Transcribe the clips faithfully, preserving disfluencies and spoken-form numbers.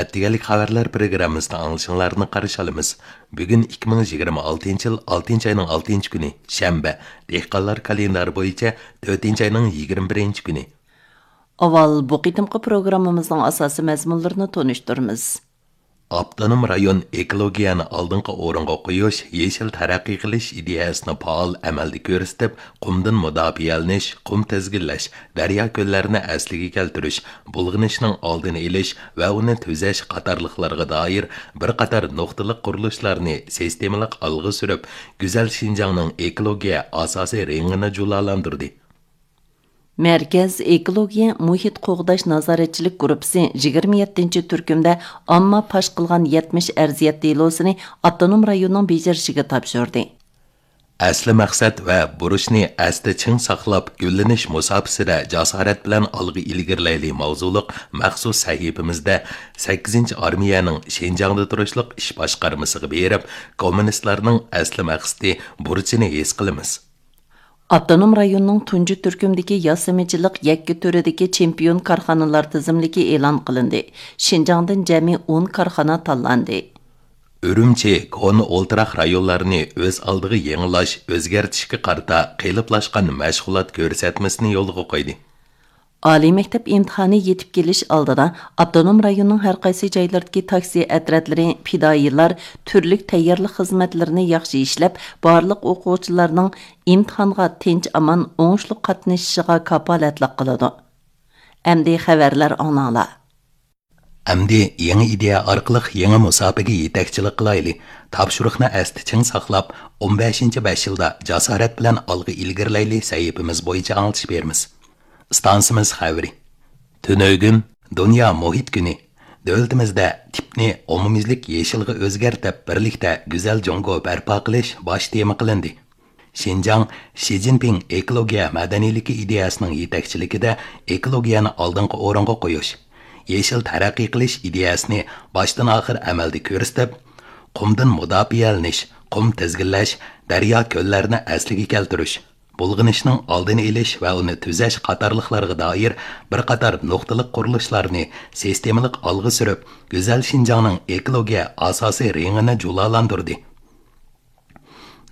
ئەتىگەنلىك خەۋەرلەر پروگراممىسىدا ئاڭلىشىڭلارنى قارشى ئالىمىز. بۈگۈن ئىككى مىڭ يىگىرمە ئالتىنچى يىل ئالتىنچى ئاينىڭ ئالتىنچى كۈنى، شەنبە، دېھقانلار كالېندارى بويىچە تۆتىنچى ئاينىڭ يىگىرمە بىرىنچى كۈنى. ئاۋۋال بۇ قېتىمقى پروگراممىمىزنىڭ ئاساسىي مەزمۇنلىرىنى تونۇشتۇرىمىز. ئاپتونوم رايون ئېكولوگىيەنى ئالدىنقى ئورۇنغا قويۇش، يېشىل تەرەققىي قىلىش ئىدىيەسىنى پائال ئەمەلدە كۆرسىتىپ، قۇمدىن مۇداپىئەلىنىش، قۇم تىزگىنلەش، دەريا-كۆللەرنى ئەسلىگە كەلتۈرۈش، بۇلغىنىشنىڭ ئالدىنى ئېلىش ۋە ئۇنى تۈزەش قاتارلىقلارغا دائىر بىر قاتار نۇقتىلىق قۇرۇلۇشلارنى سىستېمىلىق ئالغا سۈرۈپ، گۈزەل شىنجاڭنىڭ ئېكولوگىيە ئاساسىي رېڭىنى جۇلالاندۇردى. مەركەز ئېكولوگىيە مۇھىت قوغداش نازارەتچىلىك گۇرۇپپىسى يىگىرمە يەتتىنچى تۈركۈمدە ئامما پاش قىلغان يەتمىش ئەرزىيەت دېلوسىنى ئاپتونوم رايوننىڭ بېجىرىشىگە تاپشۇردى. ئەسلى مەقسەت ۋە بۇرچنى ئەستە چىڭ ساقلاپ، گۈللىنىش مۇساپىسىدە جاسارەت بىلەن ئالغا ئىلگىرىلەيلى ماۋزۇلۇق مەخسۇس سەھىپىمىزدە سەككىزىنچى ئارمىيەنىڭ شىنجاڭدا تۇرۇشلۇق ئىش باشقارمىسىغا بېرىپ، كوممۇنىستلارنىڭ ئەسلى مەقسىتى، بۇرچىنى ھېس قىلىمىز. ئاپتونوم رايوننىڭ تۇنجى تۈركۈمدىكى ياسىمىچىلىق يەككە تۈرىدىكى چېمپىيون كارخانىلار تىزىملىكى ئېلان قىلىندى. شىنجاڭدىن جەمئىي ئون كارخانا تاللاندى. ئۈرۈمچى، كونا ئولتۇراق رايونلارنى ئۆز ئالدىغا يېڭىلاش، ئۆزگەرتىشكە قارىتا قېلىپلاشقان مەشغۇلات كۆرسەتمىسىنى يولغا قويدى. ئالىي مەكتەپ ئىمتىھانى يېتىپ كېلىش ئالدىدا، ئاپتونوم رايوننىڭ ھەر قايسى جايلىرىدىكى تاكسى ئەترەتلىرى، پىدائىيلار تۈرلۈك تەييارلىق خىزمەتلىرىنى ياخشى ئىشلەپ، بارلىق ئوقۇغۇچىلارنىڭ ئىمتىھانغا تىنچ-ئامان، ئوڭۇشلۇق قاتنىشىشىغا كاپالەتلىك قىلىدۇ. ئەمدى خەۋەرلەر ئاڭلاڭلار. ئەمدى يېڭى ئىدىيە ئارقىلىق يېڭى مۇساپىگە يېتەكچىلىك قىلايلى. تاپشۇرۇقنى ئەستە چىڭ ساقلاپ، ئون بەشىنچى بەش يىلدا جاسارەت بىلەن ئالغا ئىلگىرىلەيلى سەھىپىمىز بويىچە ئاڭلىتىش بېرىمىز. ئىستانسىمىز خەۋىرى. تۈنۈگۈن دۇنيا مۇھىت كۈنى. دۆلىتىمىزدە تىپنى ئومۇميۈزلۈك يېشىلغا ئۆزگەرتىپ، بىرلىكتە گۈزەل جۇڭگو بەرپا قىلىش باش تېما قىلىندى. شىنجاڭ شى جىنپىڭ ئېكولوگىيە مەدەنىيلىكى ئىدىيەسىنىڭ يېتەكچىلىكىدە ئېكولوگىيەنى ئالدىنقى ئورۇنغا قويۇش، يېشىل تەرەققىي قىلىش ئىدىيەسىنى باشتىن ئاخىر ئەمەلدە كۆرسىتىپ، قۇمدىن مۇداپىئەلىنىش، قۇم تىزگىنلەش، دەريا-كۆللەرنى ئەسلىگە كەلتۈرۈش، بۇلغىنىشنىڭ ئالدىنى ئېلىش ۋە ئۇنى تۈزەش قاتارلىقلارغا دائىر بىر قاتار نۇقتىلىق قۇرۇلۇشلارنى سىستېمىلىق ئالغا سۈرۈپ، گۈزەل شىنجاڭنىڭ ئېكولوگىيە ئاساسىي رېڭىنى جۇلالاندۇردى.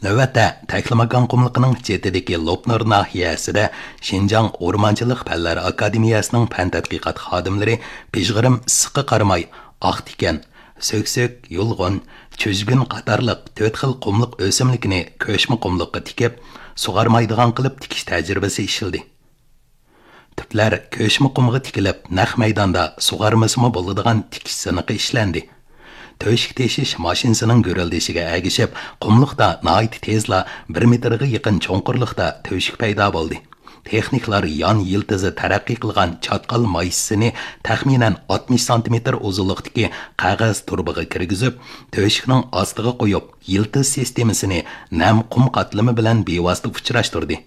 نۆۋەتتە، تەكلىماكان قۇملۇقىنىڭ چېتىدىكى لوپنۇر ناھىيەسىدە شىنجاڭ ئورمانچىلىق پەنلەر ئاكادېمىيەسىنىڭ پەن تەتقىقات خادىملىرى پىژغىرىم ئىسسىققا قارىماي، ئاقتىكەن، سۆكسۆك، يۇلغۇن، چۈجگۈن قاتارلىق تۆت خىل قۇملۇق ئۆسۈملۈكىنى كۆچمە قۇملۇققا تىكىپ، سۇغارمايدىغان قىلىپ تىكىش تەجرىبىسى ئىشلىدى. تۈپلەر كۆچمە قۇمغا تىكىلىپ، نەق مەيداندا سۇغارمىسىمۇ بولىدىغان تىكىش سىنىقى ئىشلەندى. تۆشۈك تېشىش ماشىنىسىنىڭ گۈرۈلدىشىگە ئەگىشىپ، قۇملۇقتا ناھايىتى تېزلا بىر مېتىرغا يېقىن چوڭقۇرلۇقتا تۆشۈك پەيدا بولدى. تېخنىكلار يان يىلتىزى تەرەققىي قىلغان چاتقال مايسىسىنى تەخمىنەن ئاتمىش سانتىمېتىر ئۇزۇنلۇقتىكى قەغەز تۇرۇبىغا كىرگۈزۈپ، تۆشۈكنىڭ ئاستىغا قويۇپ، يىلتىز سىستېمىسىنى نەم قۇم قاتلىمى بىلەن بىۋاسىتە ئۇچراشتۇردى.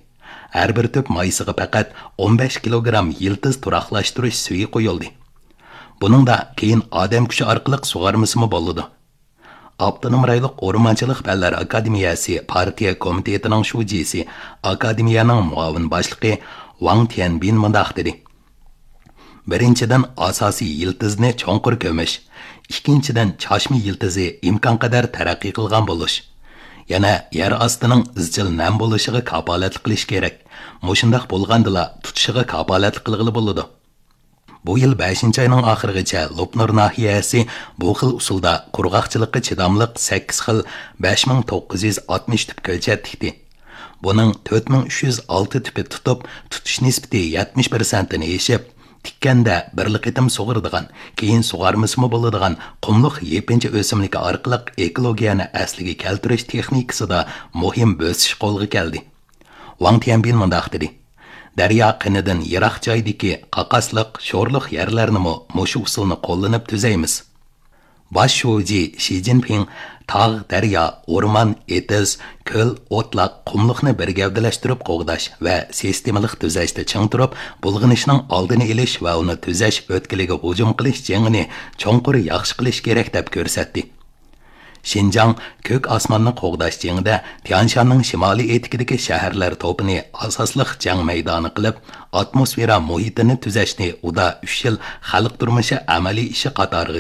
ھەر بىر تۈپ مايسىغا پەقەت ئون بەش كىلوگرام يىلتىز تۇراقلاشتۇرۇش سۈيى قويۇلدى. بۇنىڭدا كېيىن ئادەم كۈچى ئارقىلىق سۇغارمىسىمۇ بولىدۇ. ئاپتونوم رايونلۇق ئورمانچىلىق پەنلەر ئاكادېمىيەسى پارتىيە كومىتېتىنىڭ شۇجىسى، ئاكادېمىيەنىڭ مۇئاۋىن باشلىقى ۋاڭ تيەنبىن مۇنداق دېدى: بىرىنچىدىن، ئاساسىي يىلتىزنى چوڭقۇر كۆمۈش. ئىككىنچىدىن، چاچما يىلتىزى ئىمكانقەدەر تەرەققىي قىلغان بولۇش. يەنە يەر ئاستىنىڭ ئىزچىل نەم بولۇشىغا كاپالەتلىك قىلىش كېرەك. مۇشۇنداق بولغاندىلا تۇتۇشىغا كاپالەتلىك قىلغىلى بولىدۇ. بۇ يىل بەشىنچى ئاينىڭ ئاخىرىغىچە لوپنۇر ناھىيەسى بۇ خىل ئۇسۇلدا قۇرغاقچىلىققا چىداملىق سەككىز خىل بەش مىڭ توققۇز يۈز ئاتمىش تۈپ كۆچەت تىكتى. بۇنىڭ تۆت مىڭ ئۈچ يۈز ئالتە تۈپى تۇتۇپ، تۇتۇش نىسبىتى يەتمىش پىرسەنتتىن ئېشىپ، تىككەندە بىرلا قېتىم سۇغىرىدىغان، كېيىن سۇغارمىسىمۇ بولىدىغان قۇملۇق يېپىنچا ئۆسۈملۈكى ئارقىلىق ئېكولوگىيەنى ئەسلىگە كەلتۈرۈش تېخنىكىسىدا مۇھىم بۆسۈش قولغا كەلدى. ۋاڭ تيەنبىن مۇنداق دېدى: دەريا قىنىدىن يىراق جايدىكى قاقاسلىق، شورلۇق يەرلەرنىمۇ مۇشۇ ئۇسۇلنى قوللىنىپ تۈزەيمىز. باش شۇجى شى جىنپىڭ تاغ، دەريا، ئورمان، ئېتىز، كۆل، ئوتلاق، قۇملۇقنى بىر گەۋدىلەشتۈرۈپ قوغداش ۋە سىستېمىلىق تۈزەشتە چىڭ تۇرۇپ، بۇلغىنىشنىڭ ئالدىنى ئېلىش ۋە ئۇنى تۈزەش ئۆتكىلىگە ھۇجۇم قىلىش جېڭىنى چوڭقۇر ياخشى قىلىش كېرەك، دەپ كۆرسەتتى. شىنجاڭ كۆك ئاسماننى قوغداش جېڭىدە تيانشاننىڭ شىمالىي ئېتىكىدىكى شەھەرلەر توپىنى ئاساسلىق جەڭ مەيدانى قىلىپ، ئاتموسفېرا مۇھىتىنى تۈزەشنى ئۇدا ئۈچ يىل خەلق تۇرمۇشى ئەمەلىي ئىشى قاتارىغا